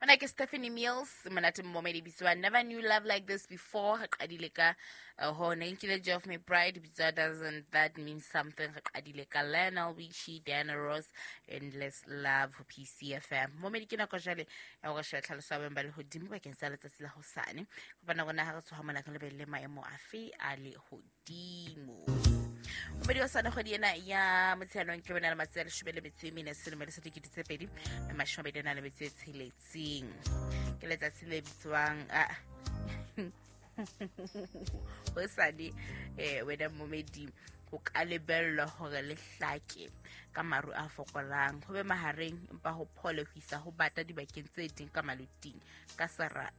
Mona ke Stephanie Mills, monate mmomedi bitswa Never Knew Love Like This Before. Re qadile ka hone nkile Geoff McBride bitswa Doesn't That Mean Something. Re qadile ka Lionel Richie, Diana Ross, Endless Love ho PCFM. Momedi ke nako jwale ya hore shebe tlhaloso ya boemo ba lehodimo bakeng sa letsatsi la hosane. Kopana rona ha re tsoha mona re lebelle maemo afe a lehodimo. Momedi wa sane kgwedi ena ya Motsheanong ke bona le matsatsi a 14 selemo le sa 2026. Ke letsatsi le bitswang hosane. Wena momedi ho ka lebellwa hore le hlake ka maru a fokolang, ho be mahareng empa ho phole ho isa ho bata dibakeng tse ding ka maluting ka sera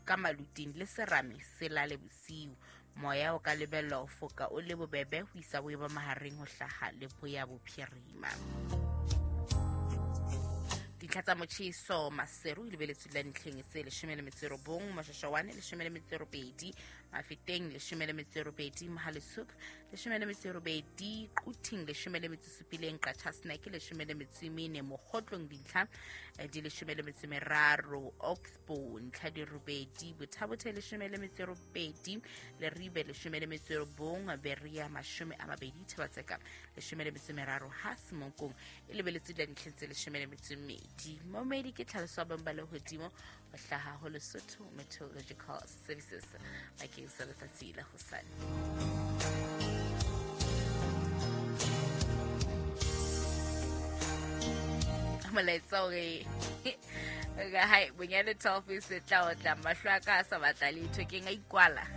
ka maluting le serame se lale bosiu. Moya o ka lebellwa ho foka o le bobebe ho isa boemo mahareng ho hlaha leboya bophirima. Dintlha tsa motjheso Maseru e lebeletswe la ntlheng tse 19, Moshashawane 18, Mafeteng 18, Mohale'shoek 18, Quthing 17, Qacha's Nek 14, Mokgotlong dintlha di 13, Oxbow ntlha di 8, Botha-Bothe 18, Leribe 19, Berea 20, Thaba-Tseka 13, ha Semonkong e lebeletswe la ntlheng tse 12. Momedi ke tlhaloso ya boemo ba lehodimo ho hlaha ho Lesotho Meteorological Services bakeng sa letsatsi la hosane. Molaetsa o re hai bonyane 12 se tla otla mahlo a ka a sa batla letho ke nka ikwala.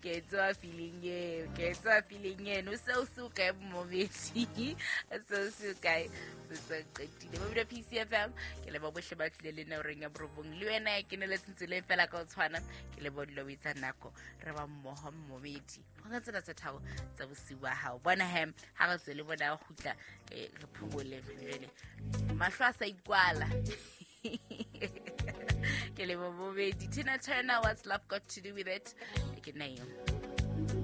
Ke tswa feeling eo, ke tswa feeling eno seo se o kae momedi, seo se o kae se se qetile. Ba PCFM ke leba bohle ba tlile le nna horeng ya 9 le wena ya keneletseng tseleng fela ka o tshwana ke leba o dula o etsa nako re ba mmoho momedi go ka tsena tsa thabo tsa bosiu ba hao. Bona hem ha re tswele bona kgutla re phomole jwale mahlo a sa ikwala. Ke lebo bobedi. Tina Turner, What's Love Got to Do With It? Ke nna eo.